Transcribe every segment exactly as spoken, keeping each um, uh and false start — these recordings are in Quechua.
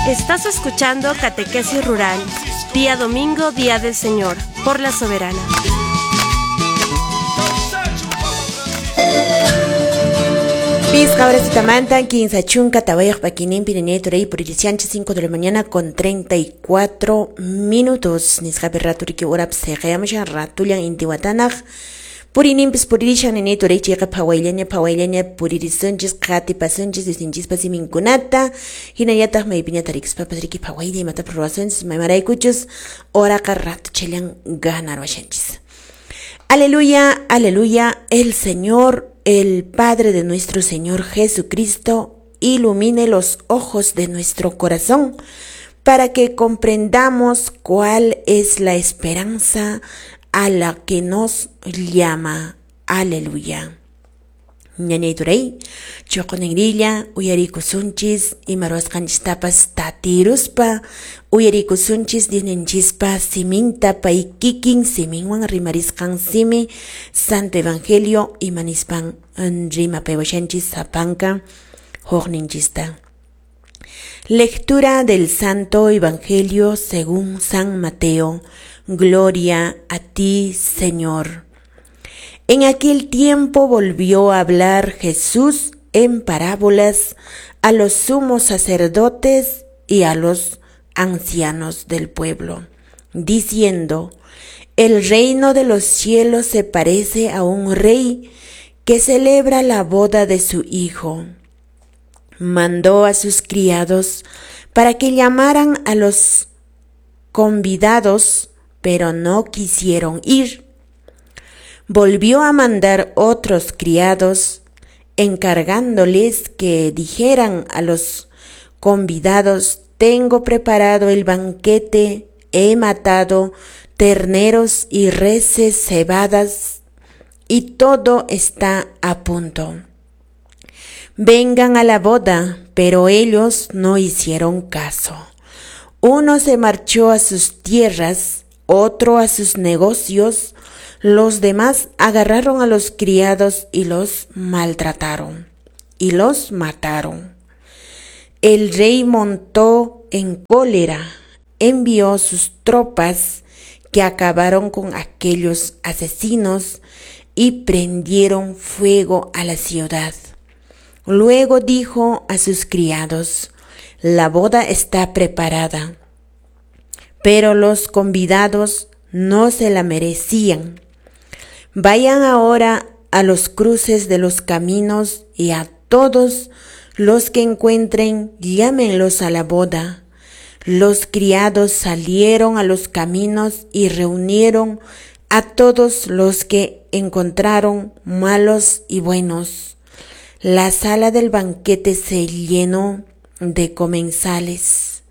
Estás escuchando Catequesis Rural, día domingo, día del Señor, por la Soberana. Pisqa horasitamantan, kinsa chunka tawayuq pakininpi ñañay turay puririsianchis cinco de la mañana con treinta y cuatro minutos. Nisqapi ratu riki urapas siqayamushan ratullan intiwatanaq. Purininpis puririshan ñañay turay chayqa phawayllaña phawayllaña puririsunchis qatipasunchis Diosninchispa siminkunata hinallataq maypiña tarikuspapas riki phawaylla imatapas ruwasunchis maymaraykuchus horaqa ratuchallan ganarwashanchis. Aleluya, aleluya, el Señor, el Padre de nuestro Señor Jesucristo, ilumine los ojos de nuestro corazón para que comprendamos cuál es la esperanza a la que nos llama. Aleluya. Ñañay turay, chuqunirilla, uyarikusunchis, imaruasqanchistapas tatiruspa, uyarikusunchis Diosninchispa siminta pay kikin siminwan rimarisqan simi, Santo Evangelio imanispan rimapaywashanchis sapanka huqninchista. Lectura del Santo Evangelio según San Mateo. Gloria a ti, Señor. En aquel tiempo volvió a hablar Jesús en parábolas a los sumos sacerdotes y a los ancianos del pueblo, diciendo: El reino de los cielos se parece a un rey que celebra la boda de su hijo. Mandó a sus criados para que llamaran a los convidados, pero no quisieron ir. Volvió a mandar otros criados, encargándoles que dijeran a los convidados: Tengo preparado el banquete, he matado terneros y reses cebadas, y todo está a punto. Vengan a la boda, pero ellos no hicieron caso. Uno se marchó a sus tierras, otro a sus negocios. Los demás agarraron a los criados y los maltrataron y los mataron. El rey montó en cólera, envió sus tropas que acabaron con aquellos asesinos y prendieron fuego a la ciudad. Luego dijo a sus criados: La boda está preparada, pero los convidados no se la merecían. Vayan ahora a los cruces de los caminos y a todos los que encuentren, llámenlos a la boda. Los criados salieron a los caminos y reunieron a todos los que encontraron, malos y buenos. La sala del banquete se llenó de comensales.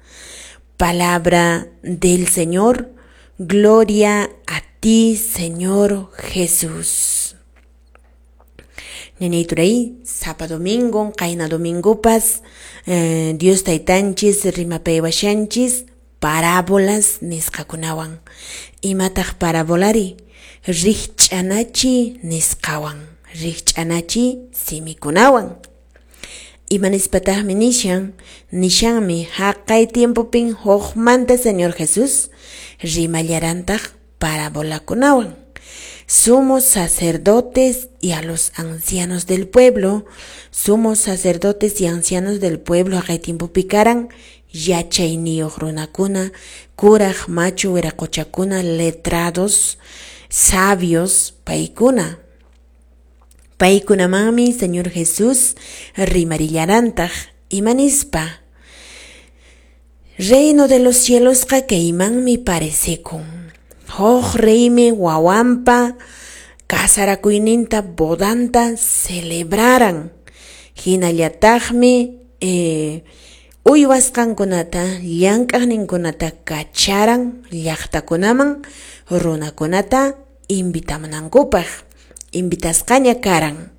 Palabra del Señor. Gloria a ti, Señor Jesús. Ñañay turay, sapa domingo, qayna domingopas, eh, Dios taytanchis, rimapaywashanchis, parábolas nisqakunawan. Imataq parabolari? Rikch'anachi nisqawan, rikch'anachi simikunawan. Imanispataqmi nishan, nishanmi haqay tiempopin huqmanta Señor Jesús rimallarantaq parabolakunawan. Sumos sacerdotes y a los ancianos del pueblo, sumos sacerdotes y ancianos del pueblo haqay tiempo picaran, yachayniyuq runakuna, kuraq machu wiraqochakuna, letrados, sabios, paykuna. Paykunamanmi Señor Jesús rimarillarantaq imanispa. Reino de los cielos kaymanmi parecekun. Huk reymi wawanpa kasarakuyninta bodanta celebraran. Hinallataqmi eh, uywasqankunata llank'aqninkunata kacharan llaqtakunaman runakunata invitamunankupaq. Invitasqaña karan.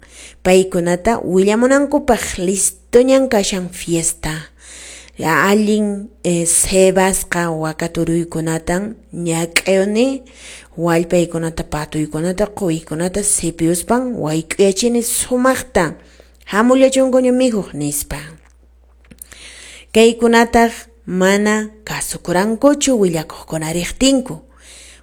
Paykunata willamunankupaq listoñan kashan fiesta. Allin eh, cebasqa wakaturuykunatan ñak'ayuni wallpaykunata patuykunata quykunata sipiyuspan wayk'uyachini sumaqta hamullachunkuña mikhuq nispa. Kaykunataq mana kasukurankuchu willakuqkuna riqtinku.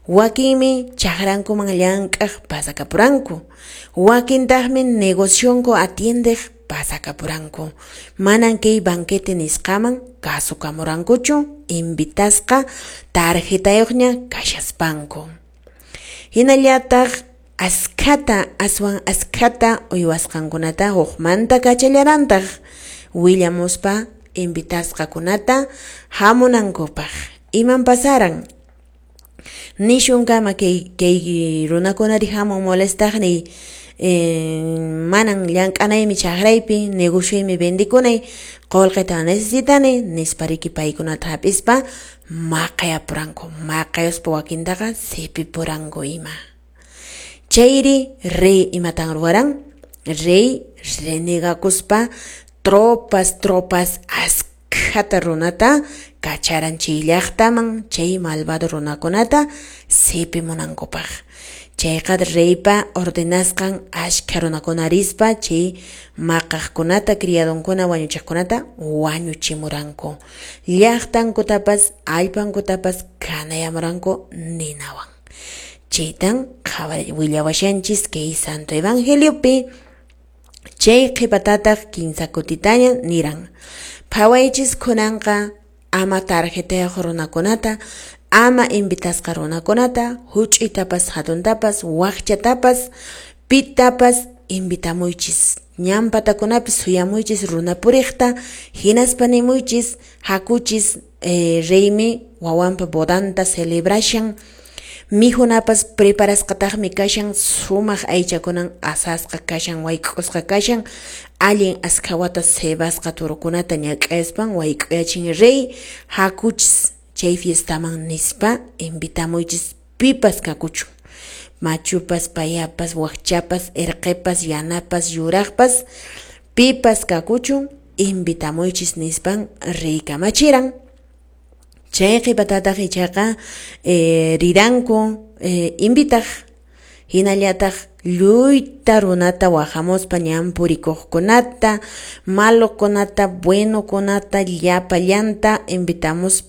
Wakinmi chakrankuman llank'aq pasakapuranku, wakintaqmi negocionku atiendeq pasakapuranku. Manan kay banquete nisqaman kasukamurankuchu invitasqa tarjetayuqña kashaspanku. Hinallataq askhata aswan askhata uywasqankunata hukmanta kachallarantaq willamuspa invitasqakunata hamunankupaq. Iman pasaran? Nishunkama kay kay runakunari hamun molestaqniy, eh, manan llank'anaymi chakraypi, negocioymi vendikunay, qullqita necesitani nispa riki paykunata hap'ispa maqayapuranku, maqayuspa wakintaqa sipipuranku ima. Chayri rey imatan ruwaran? Rey renegakuspa tropas tropas askhata runata kacharan chay llaqtaman chay malvado runakunata sipimunankupaq. Chayqa reypa ordenasqan ashkha runakuna rispa chay maqaqkunata criadonkuna wañuchiqkunata wañuchimuranku. Llaqtankutapas allpankutapas kanayamuranku ninawan. Chaytan willawashanchis kay Santo Evangeliopi. Chay qhipatataq kinsa kutitaña niran: phawaychis kunanqa ama tarjetayuq runakunata, ama invitasqa runakunata, huch'uytapas hatuntapas, wakchatapas, pitapas invitamuychis. Ñan patakunapi suyamuychis runa puriqta, hinaspa nimuychis hakuchis, eh, reymi wawanpa bodanta celebrashan, mijunapas preparasqataqmi kashan, sumaq aychakunan asasqa kashan, wayk'usqa kashan, allin askhawata cebasqa turukunata ñak'aspan wayk'uyachin rey, hakuchis chay fiestaman nispa invitamuychis pipas kakuchun, machupas, payapas, wakchapas, erqepas, yanapas, yuraqpas, pipas kakuchun invitamuychis nispan rey kamachiran. Chay qhipatataq ichaqa eh, riranku eh, invitaq, hinallataq lluyta runata wahamuspa ñan purikuqkunata, malokunata, buenokunata, llapallanta invitamuspa